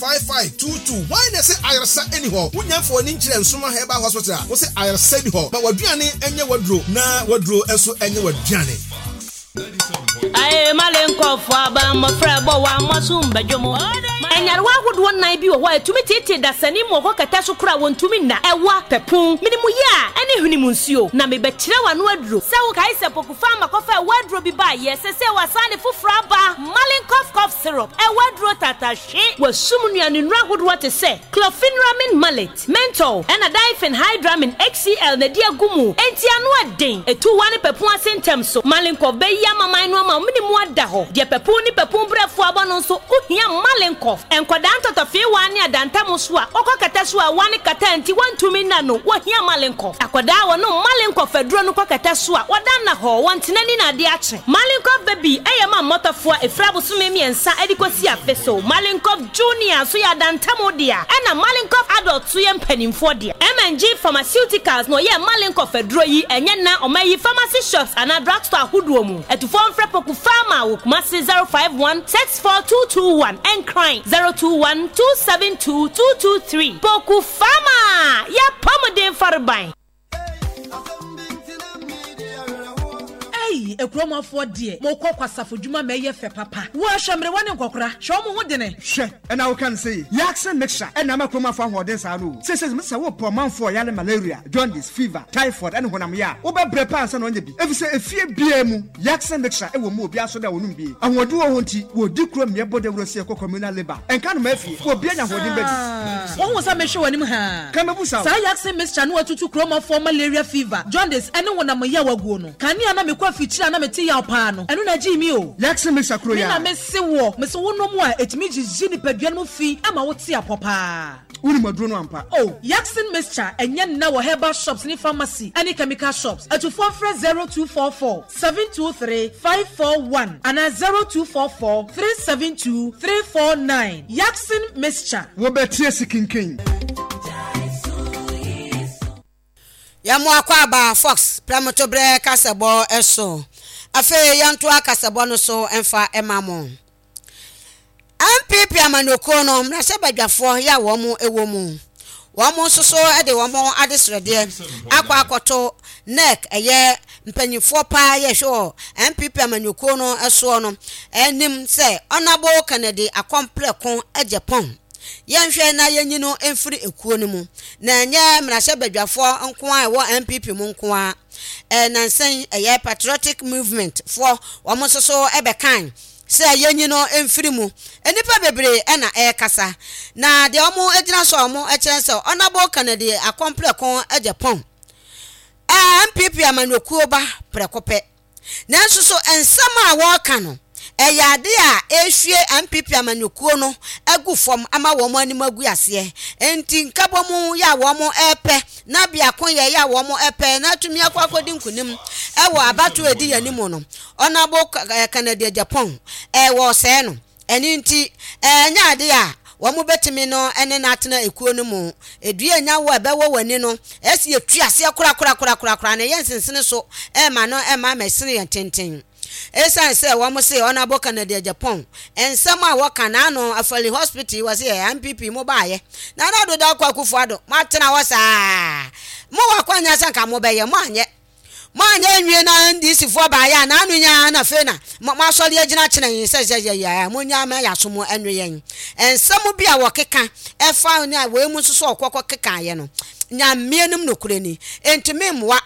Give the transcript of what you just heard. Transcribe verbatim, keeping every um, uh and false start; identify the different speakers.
Speaker 1: five five two two. Wɔn na ɛsɛ ayaresa ɛni hɔ. Wonya mfa w'ani nkyerɛ Nsoma Herbal Hospital a wɔsɛ ayaresa ni hɔ. Ma w'aduane ɛnyɛ w'aduro na w'aduro nso ɛnyɛ w'aduane.
Speaker 2: Aye, malenkɔfo aba mmɔfra bɔ wa mmɔ mbadwom. Ɛnyarewa ahodoɔ nnan bi wɔ hɔ a ɛtumi tietie dasani mu ɔkɔ kɛtɛ so kora wɔntumi nna. Ɛwa pɛpon minimu yɛ a ɛne hwene mu nsuo na mebɛkyerɛ w'ano aduro sɛ wokae sɛ Pokufa makɔfa ɛwɔ aduro bi baayɛ sɛ sɛ wasan ne foforɔ aba, Malenkɔf cough syrup. Ɛwɔ aduro tatahwe wasum nnuane nnuro ahodoɔ te sɛ chlorpheniramine maleate, menthol ɛna diphenhydramine H C L na di agu mu, enti ano ɛden etu wa ne pɛpon ase ntɛm so. Malenkɔf bɛyi amaman no ama mene mu ada hɔ deɛ pɛpon ne pɛpon brɛfo abɔ no nso wohia Malenkɔf. Nkɔdaa ntɔtɔfeewa ne adantam so a wɔkɔ kɛtɛ so a wa ne kata nti wɔntumi nna no, wɔhia Malenkɔf. Akɔdaa a wɔnom Malenkɔf aduro no kɔ kɛtɛ so a wɔda nna hɔ, wɔntena ni na ade akye. Malenkɔf Baby ɛyɛ ma mmɔtɔfoɔ a ɛfiri abosome mmiɛnsa ɛde kɔsi afe so. Malenkɔf Junior nso yɛ adantam dea, ɛna Malenkɔf Adult so yɛ mpanimfoɔ dea. M N G Pharmaceuticals na ɔyɛ Malenkɔf aduro yi. Ɛnyɛ na ɔma yi pharmacy shops anaa drugstore ahodoɔ mu. Ɛtufoɔ mfrɛ Poku Pharma wɔ Kumase zero five one six four two two one, Ɛnkran zero two one two seven two two two three. Poku Pharma, yɛ pɔmuden fareban.
Speaker 3: Ei, ekuromafoɔ deɛ, mokɔ kwasafo dwuma ma ɛyɛ fɛ papa. Woahwɛ mmerewa ne nkɔkora, hwɛ ɔmo ho dene.
Speaker 4: Hwɛ, ɛna woka no sɛ Yaksen mixture ɛna ama kuromafo ahoɔden saa no o. Sɛsɛ sɛ wopɛ ɔmanfoɔ yale malaria, jaundice, fever, typhoid ɛne honam yɛ a, wobɛbrɛ paa ansa na ɔnyɛ bi, ɛfiri sɛ efie biara mu Yaksen mixture ɛwɔ mu. Obiara so da wɔnom bie, ahoɔden wɔ hɔ nti wɔdi kuro mmeɛ bɔ dawuro sɛ yɛkɔ communal labour ɛnka no ma afie obia nya ahoɔden bɛdi.
Speaker 3: Wohu sɛ mehwɛ w'anim haa.
Speaker 4: Ka mɛbu sa.
Speaker 3: Saa Yaksen mixture no watutu kuromafoɔ malaria, fever, jaundice ɛne honam yɛ waguo no. Kanea na mekɔ afikyiri a na mete yaw paa no, ɛno na gyee mi o.
Speaker 4: Yaksen mixture kuro
Speaker 3: me
Speaker 4: yɛ
Speaker 3: na
Speaker 4: a
Speaker 3: mese wɔ mese wonom a ɛtumi gyigyi nipadua no mu fi ama wote apɔ paa.
Speaker 4: Wonim aduro no ampa.
Speaker 3: Oh, Yaksen mixture ɛnyɛ nna wɔ herbal shops ne pharmacy ɛne chemical shops. Atufoɔ frɛ zero two four four seven two three five four one anaa zero two four four three seven two three four nine. Yaksen mixture.
Speaker 4: Wobɛtie si kinkin.
Speaker 5: Yɛmo akɔ aba Fox prɛmotoberɛ kasɛbɔ so. Afei yɛntoa kasɛbɔ no so mfa ma mo. N P P amanyɔkuo no mmarahyɛbadwafoɔ yɛ a wɔn wɔ mu, wɔn nso so de wɔn adesrɛdeɛ akɔ akɔto N E C, ɛyɛ mpanyinfoɔ paa yɛhwɛ wɔ N P P amanyɔkuo no soɔ no anim sɛ Honourable Kennedy Akɔmprɛko Agyapong, yɛnhwɛ na yɛnyi no mfiri ekuo no mu. Na ɛnyɛ mmarahyɛbadwafoɔ nko a ɛwɔ N P P mu nko a ɛnansɛn ɛyɛ Patriotic Movement foɔ, wɔn nso so ɛbɛkan sɛ yɛnyi no mfiri mu. Nnipa bebree ɛna ɛrekasa na deɛ wɔn gyina so a wɔn kyerɛ sɛ Honourable Kennedy Akɔmprɛko Agyapong ɛɛ N P P amanyɔkuo ba prɛko pɛ, nanso so nsɛm a wɔreka no ɛyɛ ade a ɛrehwie N P P amanyɔkuo no agu fam ama wɔn anim agu aseɛ. Nti nkabɔ mu yɛ a wɔn ɛrepɛ na biako yɛ yɛ a wɔn ɛpɛ na atumi akɔ akɔdi nkunim ɛwɔ abatoɔ edi yɛn anim no, Honourable Kennedy Agyapong ɛwɔ sɛɛ no. Ɛne nti ɛnyɛ ade a wɔn bɛtumi no ɛne n'atena ekuo no mu. Edua nya wo a ɛbɛwɔ w'ani no ɛsi etu aseɛ korakorakorakorakora na ɛyɛ nsensene so ɛma no ɛma ama ɛsene yɛn tenten. Ɛsiane sɛ wɔn se Honourable Kennedy Agyapong nsɛm a wɔka n'ano afali hospital wɔ se yɛ N P P mo baayɛ na Nana Addo Dankwa Akufo Addo mo atena hɔ saa, mo wɔ akɔnya sɛ nka mo bɛyɛ, mo anyɛ mo anyɛ nwie na N D C foɔ baayɛ a n'ano nyaa na afei na mo asɔre agyina kyerɛ yɛn sɛ sɛ yɛ yɛ mo nya ama yɛ aso mo ɛnwe yɛn nsɛm bi a wɔkeka ɛfa ne a wɔn mu nso so ɔkɔkɔ keka yɛ no. Nyameɛ nom nokorɛ ni ntumi mmoa.